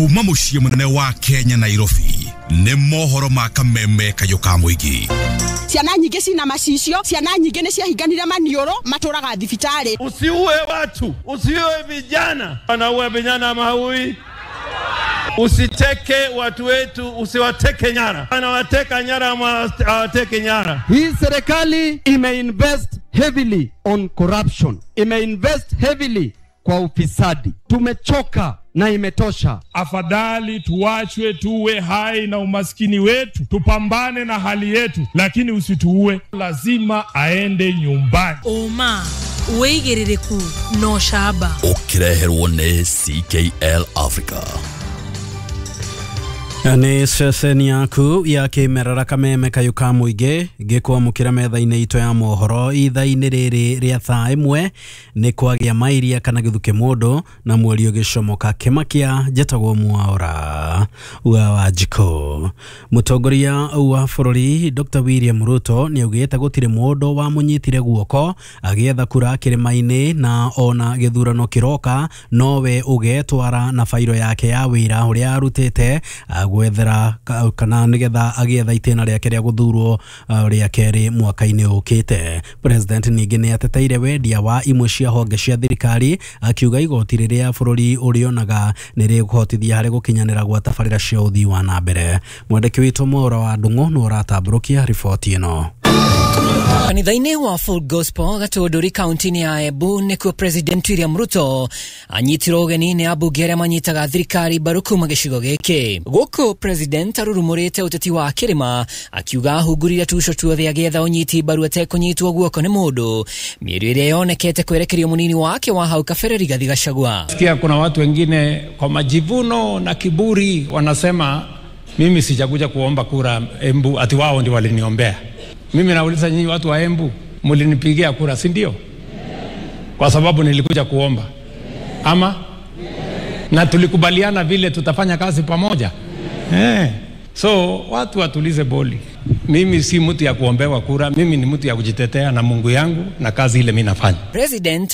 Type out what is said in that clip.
Kuma muciĩ mũnene wa Kenya Nairobi nĩ mohoro ma kameme kayũ ka mũingĩ. Ciana nyingĩ cina macicio, ciana nyingĩ nĩ ciahinganire maniũrũ, matũraga thibitarĩ. Usiue watu, usiue vijana. Wanaua vijana ama haui? Usiteke watu wetu, usiwateke nyara. Anawateka nyara ama hawateke nyara? Hii serikali imeinvest heavily on corruption, imeinvest heavily kwa ufisadi. Tumechoka na imetosha. Afadhali tuachwe tuwe hai na umaskini wetu, tupambane na hali yetu, lakini usituue. Lazima aende nyumbani. Oma wĩigĩrĩrĩku no camba. Ũkĩreherwo nĩ CKL Africa. Nĩ ceceni yaku ya kĩmerera kameme kayũ ka mũingĩ gĩkwamũkĩra metha-inĩ itũ ya mohoro ithaa-inĩ rĩrĩ rĩa thaa ĩmwe nĩ kwagĩa mairia kana gĩthuke mũndũ na mweri ũgĩcomoka kĩmakia njetagwo Mwaura wa Wanjikũ. Mũtongoria wa bũrũri Dr. William Ruto nĩ augĩte gũtirĩ mũndũ wamũnyitire guoko agĩetha kura kĩrĩma-inĩ na ona gĩthurano kĩroka nowe ũgetwara na bairo yake ya wĩra ũrĩa arutĩte gwethera kana nigetha agietha itĩna rĩake rĩa gũthurwo rĩa kerĩ mwaka-inĩ ũkĩte. President ningĩ nĩ ateteire wendia wa imwe cia honge cia thirikari akiuga igoti rĩrĩa bũrũri ũrĩonaga nĩ rĩkũhotithia harĩ gũkinyanĩra gwa tabarĩra cia ũthii wa na mbere. Mwandĩki witũ Mwaura wa Ndung'u nĩ ũratambũrũkia riboti ĩno. Kanitha-inĩ wa Full Gospel Gatũndũri kaunti-inĩ ya Embu nĩkuo President William Ruto anyitirwo ũgeni nĩ ambunge arĩa manyitaga thirikari mbaru kuma gĩcigo gĩkĩ. Gũkũ President arurumũrĩte ũteti wa kĩrĩma akiuga ahungurire tuco tuothe agĩetha ũnyiti mbaru atekũnyitwo guoko nĩ mũndũ, mĩario ĩrĩa yonekete kwerekerio mũnini wake wa hau kabere Rigathi Gachagua. Sikia kuna watu wengine kwa majivuno na kiburi wanasema mimi sijakuja kuomba kura Embu, ati wao ndio waliniombea. Mimi nauliza nyinyi watu wa Embu, mlinipigia kura, si ndio? Kwa sababu nilikuja kuomba. Ama? Na tulikubaliana vile tutafanya kazi pamoja. So watu watulize boli. Mimi si mtu ya kuombewa kura, mimi ni mtu ya kujitetea na Mungu yangu na kazi ile mimi nafanya. President